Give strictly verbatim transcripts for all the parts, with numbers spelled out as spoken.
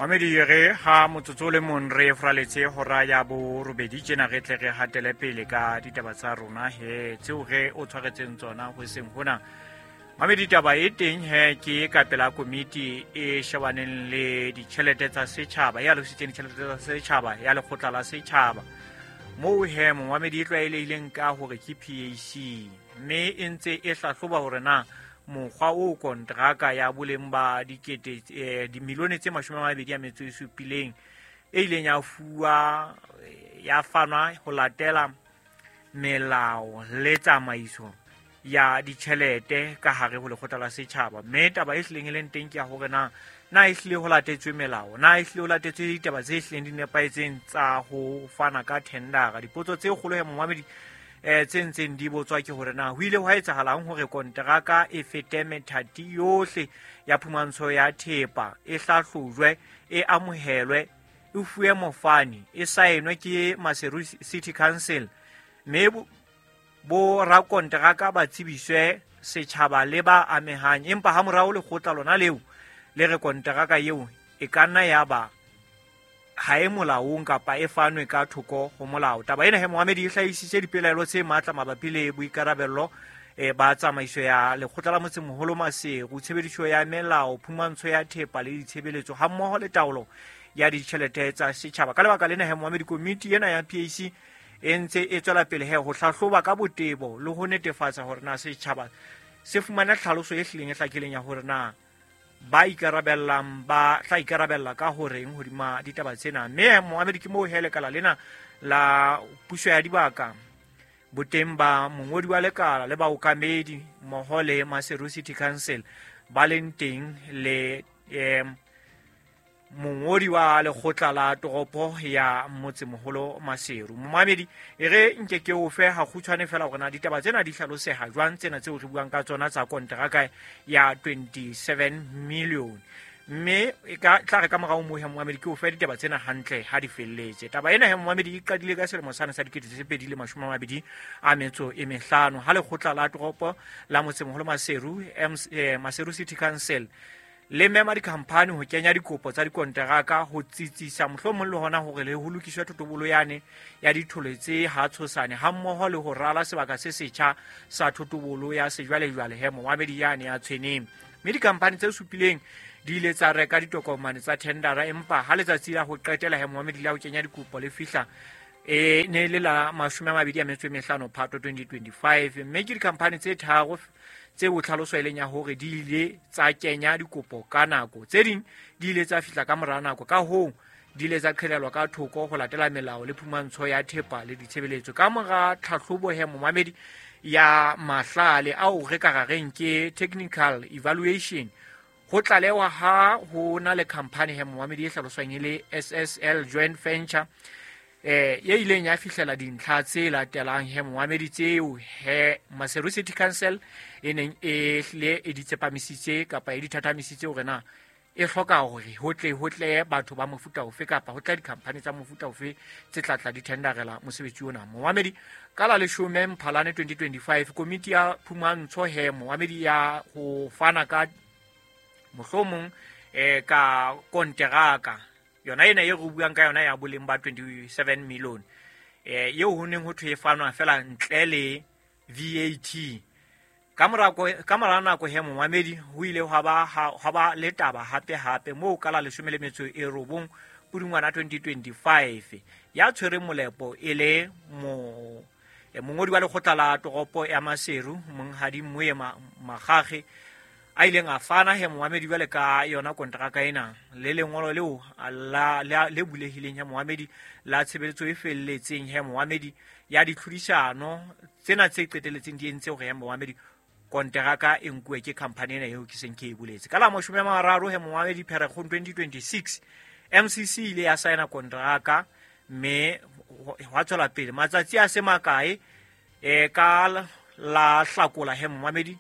Mamedi re ha motsotso le mong re fraletse hora ya borobedi tjena re tle re hatele pele ka ditaba tsa rona he tseo re o tshwaretseng tsona ho seng hona. Mamedi taba e teng he ke ka pela komiti e shebaneng le ditjhelete tsa setjhaba ya alositseng ditjhelete tsa setjhaba ya lekgotla la setjhaba. Moo he momamedi e tlwaelehileng ka hore ke P A C mme e ntse e hlahloba hore na mokgwa o kontraka ya boleng ba dikete eh, dimilione tse mashome a mabedi a metso e supileng e ileng ya fuwa ya fanwa ho latela melao le tsamaiso ya ditjhelete ka hare ho lekgotla la setjhaba. Mme taba e hlileng e leng teng ke ya hore na na e hlile ho latetswe melao, na e hlile ho latetswe ditaba tse hlileng di nepahetseng tsa ho fana ka thendera. Dipotso tse kgolo he momamedi eh tse ntseng di botswa ke hore na ho ile hwa etsahalang hore kontraka e fete methati yohle ya phumantsho ya thepa e hlahlojwe, e amohelwe, e fuwe mofani, e saenwe ke Maseru City Council, mme bo rakonteraka ba tsebiswe setjhaba le ba amehang. Empa ha morao lekgotla lona leo le re konteraka eo e ka nna ya ba ha e molaong kapa e fanwe ka thoko ho molao. Taba ena he momamedi e hlahisitse dipelaelo tse matla mabapi le boikarabello e ba tsamaiso ya lekgotla la motsemoholo Maseru, tshebediso ya melao, phumantsho ya thepa le ditshebeletso hammoho le taolo ya ditjhelete tsa setjhaba. Ka lebaka lena he momamedi, komiti ena ya P A C e ntse e tswela pele he ho hlahloba ka botebo le ho netefatsa hore na setjhaba se fumana tlhaloso e hlileng e hlakileng ya hore na ba ikarabellang ba tla ikarabella ka horeng hodima ditaba tsena. Mme momamedi ke moo he lekala lena la puso ya dibaka boteng ba mongodi wa lekala le baokamedi mmoho le Maseru City Council ba leng teng le eh, mongodi wa lekgotla la toropo ya motsemoholo Maseru. Momamedi e re nke ke o fe ha kgutshwane fela hore na ditaba tsena di hlaloseha jwang tsena tseo re buang ka tsona tsa kontraka ya twenty-seven million. Mme e ka tla re ka morao moo he momamedi ke o fe ditaba tsena hantle ha di felletse. Taba ena he momamedi e qadile ka selemo sane sa dikete tse pedi le mashome a mabedi a metso e mehlano ha lekgotla la toropo la motsemoholo Maseru, eh, Maseru City Council le mema dikhamphani ho kenya dikopo tsa dikonteraka ho tsitsisa mohlomong le hona hore le ho lokiswe thotobolo yane ya dithole tse ha tshosane hammoho le ho rala sebaka se setjha sa thotobolo ya sejwalejwale he momamedi yane ya Tshweneng. Mme dikhamphani tse supileng di ile tsa reka ditokomane tsa thendera, empa ha letsatsi la ho qetela he momamedi la ho kenya dikopo le fihla e ne le la mashome a mabedi a metso e mehlano Phato twenty twenty-five. Mme ke dikhamphani tse tharo tse ho tlhaloso e leng ya hore di ile tsa kenya dikopo ka nako, tse ding di ile tsa fihla ka mora nako, ka hoo di ile tsa qhelelwa ka thoko ho latela melao le phumantsho ya thepa le ditshebeletso. Ka mora tlhahlobo he momamedi ya mahlale ao re ka rareng ke technical evaluation, ho tlalewa ha ho na le khamphani he momamedi e hlaloswang e le S S L Joint Venture eh e ileng ya fihlela dintlha tse latelang he momamedi tseo he Maseru City Council e neng e hlile e di tsepamisitse kapa e di thathamisitse hore na e hloka hore ho tle ho tle batho ba mofuta ofe kapa ho tla dikhamphani tsa mofuta ofe tse tla tla di tenderela mosebetsi ona. Momamedi ka la leshome Mphalane twenty twenty-five komiti ya phumantsho he momamedi ya ho fana ka mohlomong eh ka konteraka yona ena e re buang ka yona ya boleng ba twenty-seven million eh eo ho neng ho thwe e fanwa fela ntle le V A T. Ka mora ka mora nako he momamedi ho ile hwa ba hwa ba le taba hape hape moo ka la leshome le metso e robong Pudungwana twenty twenty-five ya tshwere molepo e le mo mongodi wa lekgotla la toropo ya Maseru Monghadi Mmuye Magage a ileng a fana he momamedi jwale ka yona kontraka ena le lengolo leo la le bulehileng he momamedi la tshebeletso e felletseng he momamedi ya ditlhodisano tsena tse qeteletseng di entse hore he momamedi kontraka e nkuwe ke khamphani ena eo ke seng ke e boletse. Ka la mashome a mararo he momamedi Pherekgong twenty twenty-six M C C ile ya saena kontraka mme hwa tswela pele matsatsi a se makae e ka la Hlakola he momamedi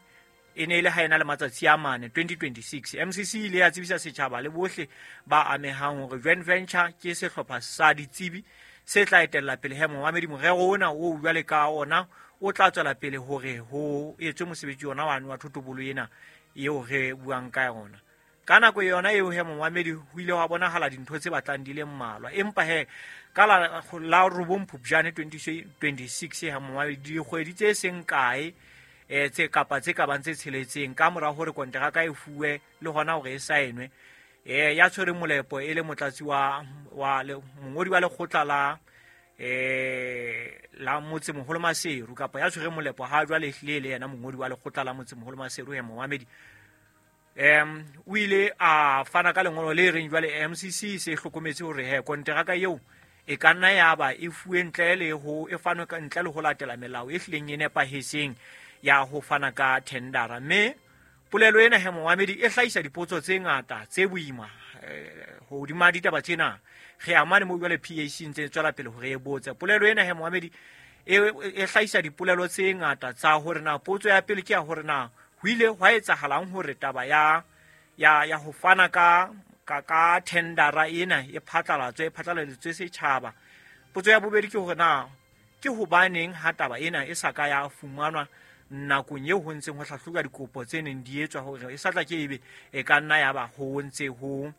e ne e le ha ena le matsatsi a mane twenty twenty-six. M C C ile ya tsebisa setjhaba le bohle ba amehang hore joint venture ke sehlopha sa ditsebi se tla etella pele he momamedi morero ona o jwale ka ona o tla tswela pele hore ho etswe mosebetsi ona wa wa thotobolo ena eo re buang ka yona. Ka nako yona eo he momamedi ho ile wa bonahala dintho tse batlang di le mmalwa, empa he ka la la robong Phupjane twenty twenty-six he momamedi dikgwedi tse seng kae eh tse kapa tse ka bang tse tsheletseng ka mora hore konteraka e fuwe le hona hore e saenwe, eh ya tshwere molepo e le motlatsi wa wa mongodi wa lekgotla la eh la Motsemoholo Maseru kapa ya tshwere molepo ha jwale ehlile le yena mongodi wa lekgotla la Motsemoholo Maseru he momamedi em o ile a fana ka lengolo le reng jwale M C C se hlokometse hore he konteraka eo e ka nna ya ba e fuwe ntle le ho e fanwe ka ntle le ho latela melao e hlileng e nepahetseng ya ho fana ka tendera. Mme polelo ena he momamedi e hlahisa dipotso tse ngata tse boima hodima ditaba tsena. Re amane mo jwale P A C ntse tswela pele hore e botse. Polelo ena he momamedi e e hlahisa dipolelo tse ngata tsa hore na potso ya pele ke ya hore na ho ile hwa etsahalang hore taba ya ya ya ho fana ka ka ka tendera ena e phatlalatswe e phatlaladitswe setjhaba. Potso ya bobedi ke hore na ke hobaneng ha taba ena e sa ka ya fumanwa nakong eo ho ntseng ho hlahloba dikopo tse neng di etswa hore e sa tla ke ebe e ka nna ya ba ho ntse ho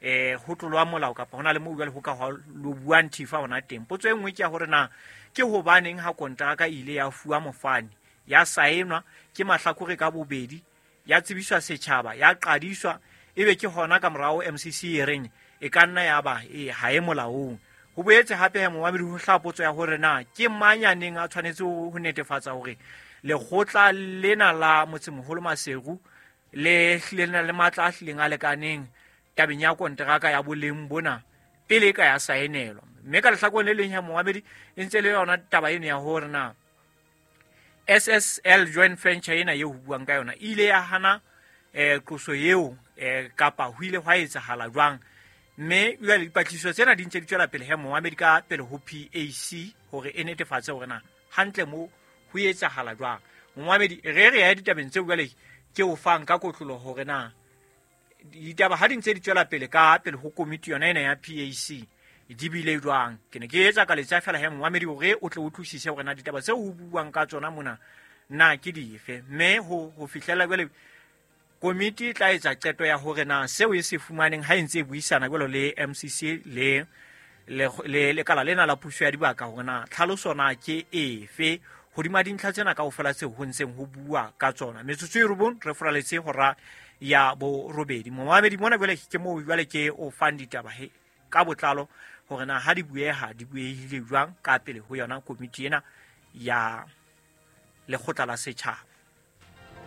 eh ho tlolwa molao kapa hona le moo jwale ho ka lo buang thifa hona teng. Potso e nngwe ke ya hore na ke hobaneng ha kontraka ile ya fuwa mofani, ya saenwa ke mahlakore ka bobedi, ya tsebiswa setjhaba, ya qadiswa, ebe ke hona ka morao M C C e reng e ka nna ya ba e ha e molaong. Ho boetse hape he momamedi ho hlaha potso ya hore na ke mang ya neng a tshwanetse ho netefatsa hore lekgotla lena la Motsemoholo Maseru le hlile le na le matla a hlileng a lekaneng tabeng ya konteraka ya boleng bona pele e ka ya saenelwa. Mme ka lehlakoreng le leng ya momamedi e ntse le yona taba eno ya hore na S S L joint venture ena eo ho buang ka yona e ile ya hana eh qoso eo eh kapa ho ile hwa etsahala jwang. Mme jwale dipatlisiso tsena di ntse di tswela pele he momamedi ka pele ho P A C hore e netefatse hore na hantle mo ho etsahala jwang. Momamedi re re ya ditabeng tseo jwale ke o fang ka kotlolo hore na ditaba ha di ntse di tswela pele ka pele ho komiti yona ena ya P A C di bile jwang. Ke ne ke etsa ka letsa fela he momamedi hore o tle o utlwisise hore na ditaba tseo ho buang ka tsona mona na ke dife. Mme ho ho fihlela jwale komiti e tla etsa qeto ya hore na seo e se fumaneng ha e ntse e buisana jwalo le M C C le le lekala lena la puso ya dibaka hore na tlhaloso na ke efe hodima dintlha tsena kaofela tseo ho ntseng ho bua ka tsona. Metsotso e robong re furaletse hora ya borobedi. Momamedi mona jwale ke moo jwale ke o fang ditaba he ka botlalo hore na ha di bueha di buehile jwang ka pele ho yona komiti ena ya lekgotla la setjhaba.